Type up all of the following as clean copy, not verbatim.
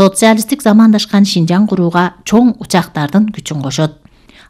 социалисттик замандашкан Шинжаң курууга чоң учактардын күчүн кошот.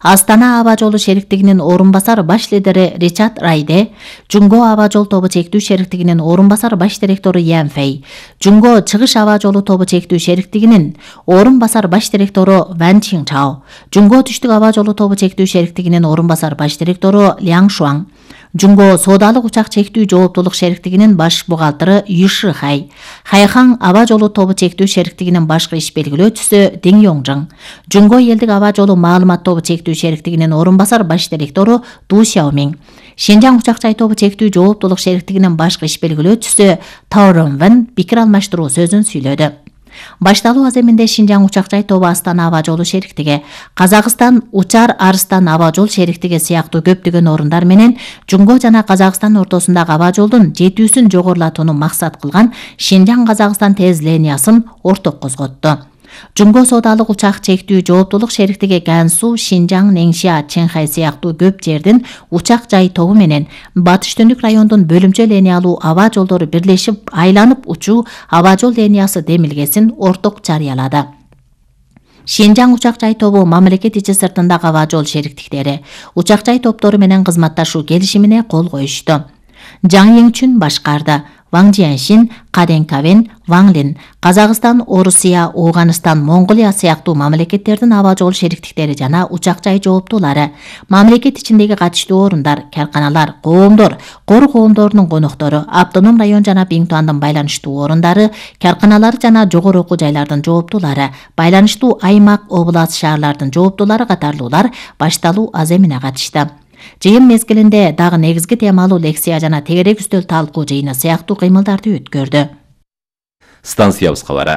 Астана аба жолу шериктигинин орун басар баш лидери Ричард Райде, Жумго аба жол тобу чектүү шериктигинин орун басар баш директору Ян Фэй, Жумго чыгыш аба жолу тобу чектүү шериктигинин орун басар баш директору Ван Чинчао, Жумго түштүк аба жолу тобу чектүү шериктигинин орун басар баш директору Ляң Шуаң, Жумго соодалык учак чектүү жооптуулук шериктигинин баш бухгалтеры Юши Хай, Хайхан аба жолу тобу чектүү шериктигинин башкы иш белгилөөчүсү Дин Йоңжың, Жумго элдик аба жолу маалымат тобу чектүү шериктигинин орун басар баш директору Ду Сяомиң, Шинжаң учак жай тобу чектүү жооптуулук шериктигинин башкы иш белгилөөчүсү Тао Рунвен пикир алмаштыруу сөзүн сүйлөдү. Башталуу аземинде Шинжаң учак жай тобу Астана аба жолу шериктиги, Казакстан Учар Арыстан аба жол шериктиги сыяктуу көптөгөн орундар менен Жумго жана Казакстан ортосундагы аба жолдун жетүүсүн жогорулатууну максат кылган Шинжаң Казакстан тез линиясын орток козготту. Жумго соодалык учак чектүү жооптуулук шериктиги Гансу, Шинжаң, Неңшия, Ченхай сыяктуу көп жердин учак жай тобу менен Батыш Түндүк райондун бөлүмчө линиялуу аба жолдору бирлешип айланып учуу аба жол линиясы демилгесин орток жарыялады. Шинжаң учак жай тобу мамлекет ичи сыртындагы аба жол шериктиктери учак жай топтору менен кызматташуу келишимине кол коюшту. Жаң Еңчүн башкарды. Ваң Жианшин, Каден Кавен, Ваң Лин, Казакстан, Орусия, Оганыстан, Монголия сыяктуу мамлекеттердин аба жол шериктиктери жана учак жай жооптуулары, мамлекет ичиндеги катыштуу орундар, карканалар, коомдор, кор коомдорунун коноктору, автоном район жана Биңтуандын байланыштуу орундары, карканалары жана жогору окуу жайлардын жооптуулары, байланыштуу аймак, област, шаарлардын жооптуулары катарлуулар башталуу аземине катышты. Жыйын мезгилинде дагы негизги темалуу лекция жана тегерек үстөл талкуу жыйыны сыяктуу кыймылдарды өткөрдү. Станциябыз кабары.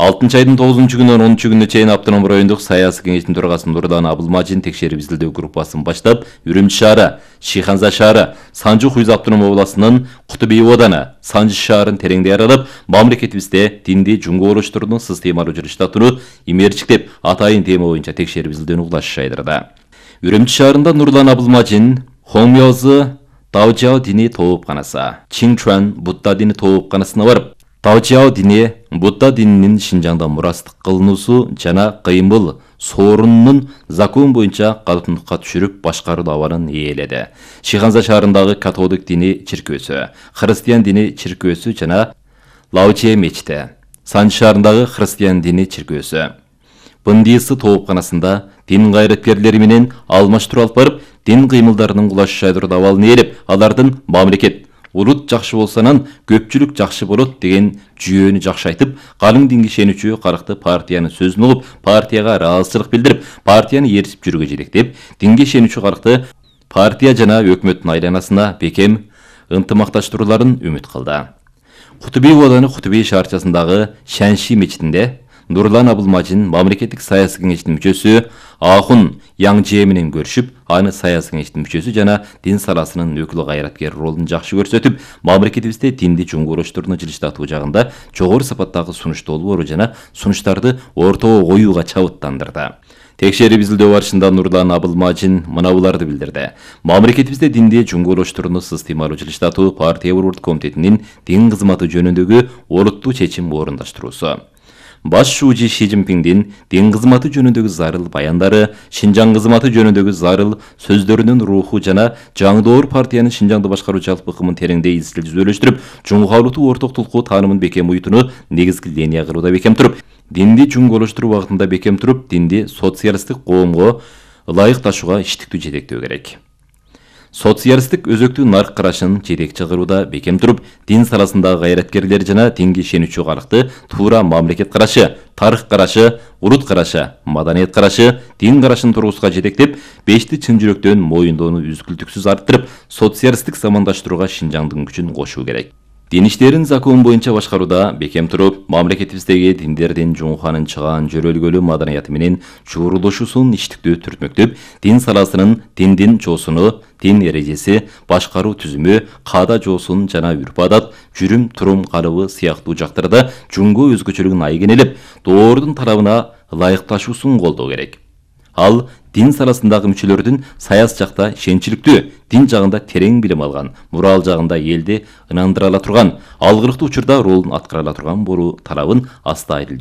6-айдын 9-күнүнөн 10-күнүнө чейин автоном райондук саясий кеңештин төрагасы Нурлан Абылмажин текшерип изилдөө группасын баштап, Үрүмчү шаары, Шиханза шаары, Санжы Хуйз автоном областынын Кутубий ооданы, Санжы шаарын тереңдей аралап, мамлекетибизде динди жумго олуштуруунун системалуу жүрүштатууну имерчиктеп, атайын тема боюнча текшерип изилдөөнү угулаш жайдырды. Үрүмчү шаарында Нурлан Абылмажин Хомёзы Даожао дини тоопканасы, Чинчуан Будда дини тоопканасына барып, Даожао дини Будда дининин Шинжаңда мурастык кылынуусу жана кыймыл соорунунун закон боюнча калыптуулукка түшүрүп башкаруу абалын ээледи. Шиханза шаарындагы католик дини чиркөөсү, христиан дини чиркөөсү жана Лаоче мечити, Санжы шаарындагы христиан дини чиркөөсү, Бындысы тоопканасында дин кайраткерлери менен алмаштыруу алып барып, дин кыймылдарынын кулаш жайдыруу абалын ээлеп, алардын мамлекет, улут жакшы болсонан көпчүлүк жакшы болот деген жүйөнү жакшы айтып, калың динге ишенүүчү каракты партиянын сөзүн угуп, партияга ыраазычылык билдирип, партияны ээрчип жүрүүгө жетектеп, динге ишенүүчү каракты партия жана өкмөттүн айланасына бекем ынтымакташтырууларын үмүт кылды. Кутубий ооданы Кутубий шаарчасындагы Шанши мечитинде Нурлан Абылмажин мамлекеттик саясий кеңештин мүчөсү Ахун Яңже менен көрүшүп, аны саясий кеңештин мүчөсү жана дин саласынын өкүл кайраткер ролун жакшы көрсөтүп, мамлекетибизде динди жумго олуштурууну жылыштатуу жагында жогору сапаттагы сунушту болбоору жана сунуштарды ортого коюуга чабыттандырды. Текшерип изилдөө барышында Нурлан Абылмажин мына буларды билдирди. Мамлекетибизде динди жумго олуштурууну системалуу жылыштатуу партия борбордук комитетинин дин кызматы жөнүндөгү олуттуу чечим орундаштыруусу. Баш шуучу Ши Цзиньпиңдин дин кызматы жөнүндөгү зарыл баяндары, Шинжаң кызматы жөнүндөгү зарыл сөздөрүнүн руху жана жаңдоор партиянын Шинжаңды башкаруу жалпы ыкымын тереңдей изилдөөлөштүрүп, жумгалуу ортоктулукту таанымын бекем уютууну негизги линия кылууда бекем туруп, динди жумго олуштуруу багытында бекем туруп, динди социалисттик коомго ылайыкташууга иштиктүү жетектөө керек. Социалисттик өзөктүү нарк карашын жетекчи кылууда бекем туруп, дин саласындагы кайраткерлер жана динге ишенүүчү калыкты туура мамлекет карашы, тарых карашы, улут карашы, маданият карашы, дин карашын тургузууга жетектеп, бешти чын жүрөктөн моюндоону үзгүлтүксүз арттырып, социалисттик замандаштырууга Шинжаңдын күчүн кошуу керек. Дин иштерин закон боюнча башкарууда бекем туруп, мамлекетибиздеги диндердин жуңуханын чыгаан жөрөлгөлүү маданияты менен чуурулушуусун иштиктүү түртмөктөп, дин саласынын диндин жоосуну, дин эрежеси, башкаруу түзүмү, каада жоосун жана үрп-адат, жүрүм-турум калыбы сыяктуу жактарда жумго өзгөчөлүгүн айгинелеп, доордун талабына ылайыкташуусун колдоо керек. Ал дин саласындагы мүчөлөрдүн саяс жакта ишенчиликтүү, дин жагында терең билим алган, мурал жагында элди ынандыра ала турган, алгырыктуу учурда ролун аткара ала турган болуу талабын аста айдыл